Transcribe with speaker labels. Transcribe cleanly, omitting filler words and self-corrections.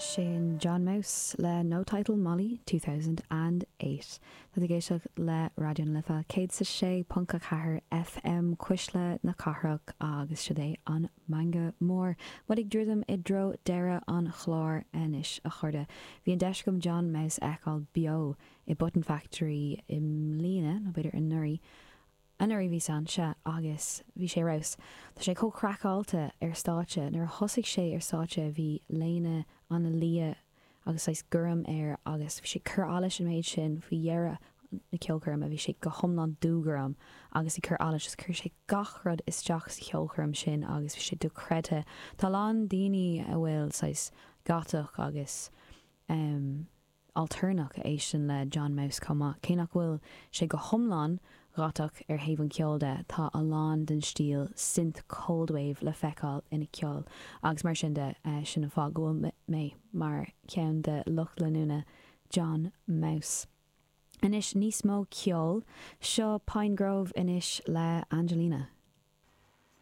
Speaker 1: Sin John Maus le No Title Molly 2008. Tá tú ag éisteacht le Raidió na Life 106.4 FM Cuisle na Cathrach agus siod é an Meangadh Mór. Muid ag druidim i dtreo deireadh an chláir anois a chairde. Bhí an deis agam John Maus a fheiceáil beo i Button Factory i mbliana, nó b'fhéidir anuraidh, Anuraidh bhíos ann, sea, agus bhí sé ar fheabhas. Tá sé chomh craiceáilte ar stáitse. Nuair a thosaigh sé ar stáitse bhí léine an-liath agus saghas gorm air agus bhí sé ag cur allais an méid sin faoi dheireadh na ceolchoirme bhí sé go hiomlán dúghorm agus ag cur allais agus chuir sé gach rud isteach sa cheolchoirm sin agus bhí sé dochreidthe. Tá a lán daoine a bhfuil saghas gotach agus em. altarnach a éisteann le John Maus chomh maith. Cé nach bhfuil sé go hiomlán gotach ar thaobh an cheoil de, tá a lán den stíl synth coldwave le feiceáil ina cheol agus mar sin de, sin an fáth go bhfuil mé mar cheann de lucht leanúna John Maus. Anois níos mó ceoil, seo Pinegrove anois le Angelina.